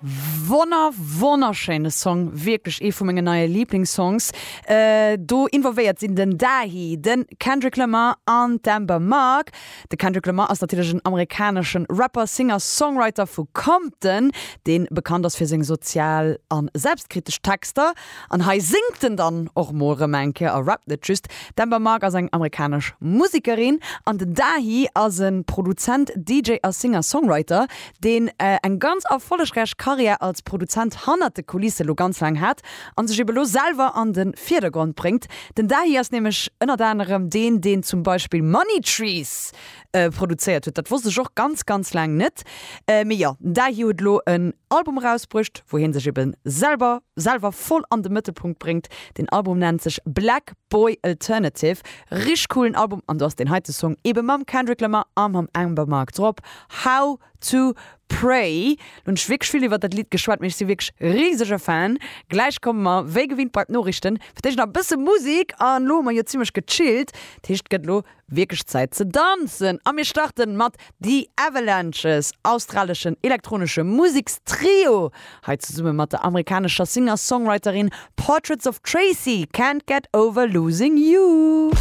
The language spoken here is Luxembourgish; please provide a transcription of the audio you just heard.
Wonner wonnerschéine Song, wierklech ee vu mengen neie Liiblingssongs. Do involvéiert sinn den Dahi, de Kendrick Lamar an d'Amber Mark. De Kendrick Lamar ass natierlech en amerikanesche Rapper, Singer, Songwriter vu Compton, dee bekannt ass fir seng sozial a selbstkritesch Texter. An hei séngt en dann och mol rëm eng Kéier a rappt net just. D'Amber Mark ass eng amerikanesch Musekerin an den Dahi ass e Produzent, DJ a Singer-Songwriter, deen eng ganz erfollegräich Karriär als Produzent hannert de Kulisse lo ganz laang hat an sech ebe lo selwer an de Virdergrond bréngt. Den Dahi ass nämlech ënnert anerem deen, deen zum Beispill Money Trees produzéiert huet. Dat wosst ech och ganz, ganz laang net. Mee jo, den Dahi huet elo en Album erausbruecht, wou hie sech ebe selwer selwer voll an de Mëttelpunkt bréngt. Den Album nennt sech Black Boy Alternative. Richteg coolen Album an do ass deen heite Song ebe mam Kendrick Lamar a mam Amber Mark drop. How to Pray. Lo hunn ech wierklech vill iwwert dat Lidd geschwat, mee ech si wierklech risege Fan. Gläich komme mer wéi gewinnt bei d'Noriichten. Fir d'éischt nach e bësse Musek an lo hu mer jo zimmlech gechillt, dat heescht et gëtt elo wierklech Zäit ze danzen. A mir starten mat The Avalanches, australeschen elektronesche Musekstrio, hei zesumme mat der amerikanescher Singer-Songwriterin Portraits of Tracy, Can't Get Over Losing You.